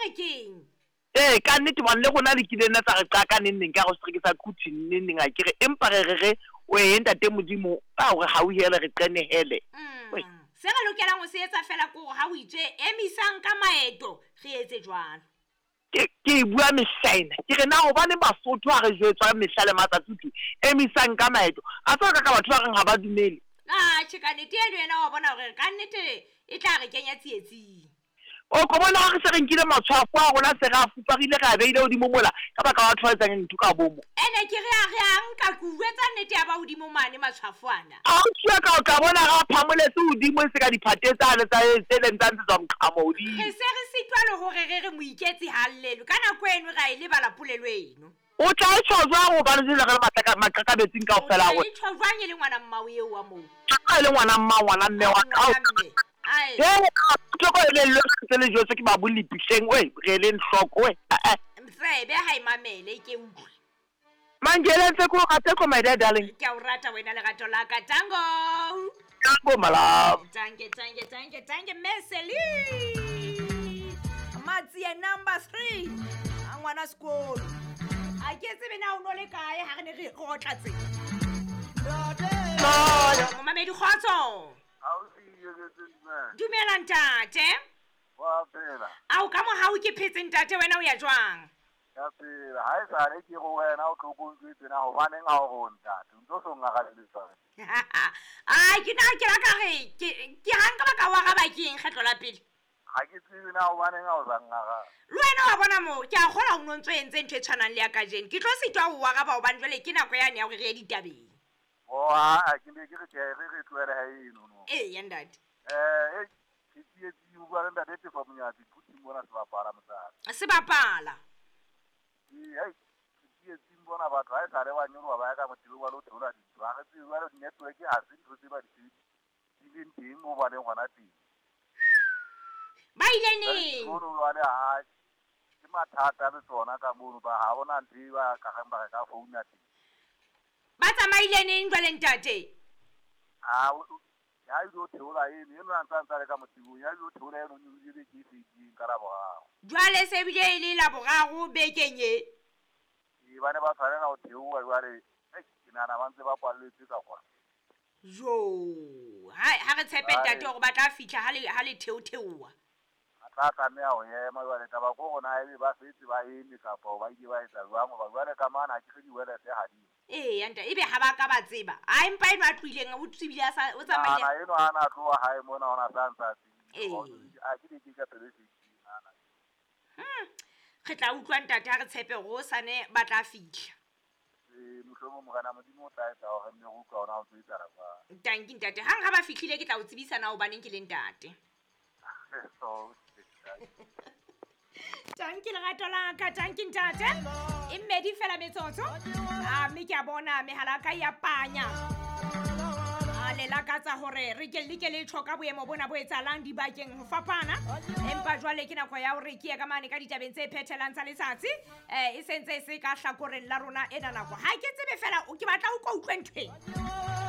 re keng? Ee, ka nnete hobane le rona le kile nna tsa re qaka neng neng ka hare ho setereke sa Quthing neng neng akere empa re re re wee ntate Modimo a o re hauhele re qenehele. Wee. Se re lokelang ho se etsa feela ke hore ha ho itswe emisang ka maeto re etse jwalo. Ke ke e bua mehlaena ke re na hobaneng Basotho ha re jwetswa mehla le matsatsi ho thwe emisang ka maeto a tseba ka ka batho ba reng ha ba dumele. Atjhe ka nnete eno yena wa bona hore ka nnete e tla re kenya tsietsing. O ko bona ha re se re nkile matshwafo a rona se re a fuparile re a beile hodimo mola ka baka la batho ba etsang ntho ka bomo. Ene ke re a re a nka ke u jwetsa nnete ya ba hodimo mane matshwafo ana. Ausi wa ka o tla bona re a phamoletse hodimo e se ka diphate tsane tsa tse leng tsa ntshetswa moqhamo hodimo. Re se re sitwa le hore re re moiketsi ha a llelwe ka nako eno re a e lebala polelo eno. O tla e tjho jwang hobane jwale re le maqakabetsing kaofela a rona? O tla e tjho jwang e le ngwana mmao eo wa moo? Ha e le ngwana mmao, ngwana mme wa ka. Ngwana mme. Ai. He, hloko e leng ntse le jwetswe ke babolli hleng, oe, re eleng hloko, oe, eh-eh. Tsebe ha e mamele, e ke utlwe. Mangele ntse ke o rata ko my dear darling. Ke a o rata wena lerato la ka. Tango. Tango my love. Tanke, tanke, tanke, tanke, Meseli. Matsie number 3. A ngwana sekolo. A ke tsebe na o no le kae ha re ne re otla tse. Momamedi kgotso. Dumela ntate. Wa phela. Ao ka mohau ke phetse ntate wena o ya jwang? Ya phela, ha e sale ke go wena o tlo ko ntjwetse na hobaneng ha o re o ntate, o ntso so ngarabele jwale. Ai ke na ke la ka re ke ke ha nka ba ka wa araba ke eng kgetlo la pele? Ha ke tsebe na hobaneng ha o sa ngaraba. Le wena wa bona moo ke a kgola o no ntso entse ntho e tshwanang le ya kajeno. Ke tlo sitwa ho o araba hobane jwale ke nako yane ya hore re ye ditabeng. Oh ha ke ne ke re tjhe re re tlohele ha eno no. Eya ntate. Eh ke tsietsing o bua le ntate Tefa Monyatsi Quthing mona sebapala motsana. Sebapala. Ee, ke tsietsing bona batho ha e sale ba nyoloha ba ya ka motebong ba lo theola dintho. Ha re tsebe jwale network ha se ntho tse ba di sebedisang teng moo ba leng hona teng. Ba ile neng? Mono jwale ha ke mathata le tsona ka mono ba ha hona ntho e ba ka reng ba re ka founa teng. Ba tsamaile neng jwale ntate? Ha ya ile theola eno eno a ntsa ntsa le ka motebong ya ile theola eno nyolohile beke e fetileng ka Laboraro. Jwale se bile e le Laboraro bekeng e. Ee, ba ne ba tshwanela ho theoha jwale ke nahana ba ntse ba kwalletswe ka kwana. Jo, ha re tshepe ntate hore ba tla fihla ha le theotheoha. A tla tlameha ho ema jwale taba ke hore na ebe ba setse ba eme kapa ba ile ba etsa jwang hoba jwale ka mane ha ke re diwelete ha di. Ee, ntate, ebe ha ba ka ba tseba. A empa eno a tlohileng o tsebile a sa o tsamaile. Ana eno ha na tloha hae mona ona sa ntsa tsebile. A ke di ke ka pelo e fetileng ana. Re tla utlwa ntate ha re tshepe hore hosane ba tla fihla. Ee, mohlomong Morena Modimo o tla etsa hore nne re utlwa hore ha o tlo etsahala jwang. Tanki ntate, hang ha ba fihlile ke tla o tsebisa na hobaneng ke le ntate. Tanki lerato la ka, tanki ntate. E mmedi fela metsotso. A mme ke a bona mehala ka ya panya. A le lakatsa hore re ke like le tjho ka boemo bona bo etsahalang dibakeng ho fapana. Empa jwale ke nako ya hore ke ye ka mane ka ditabeng tse phethelang tsa letsatsi. E sentse e se ka hlakoreng la rona ena nako. Ha ke tsebe fela ke batla o ko utlwe ntho ena.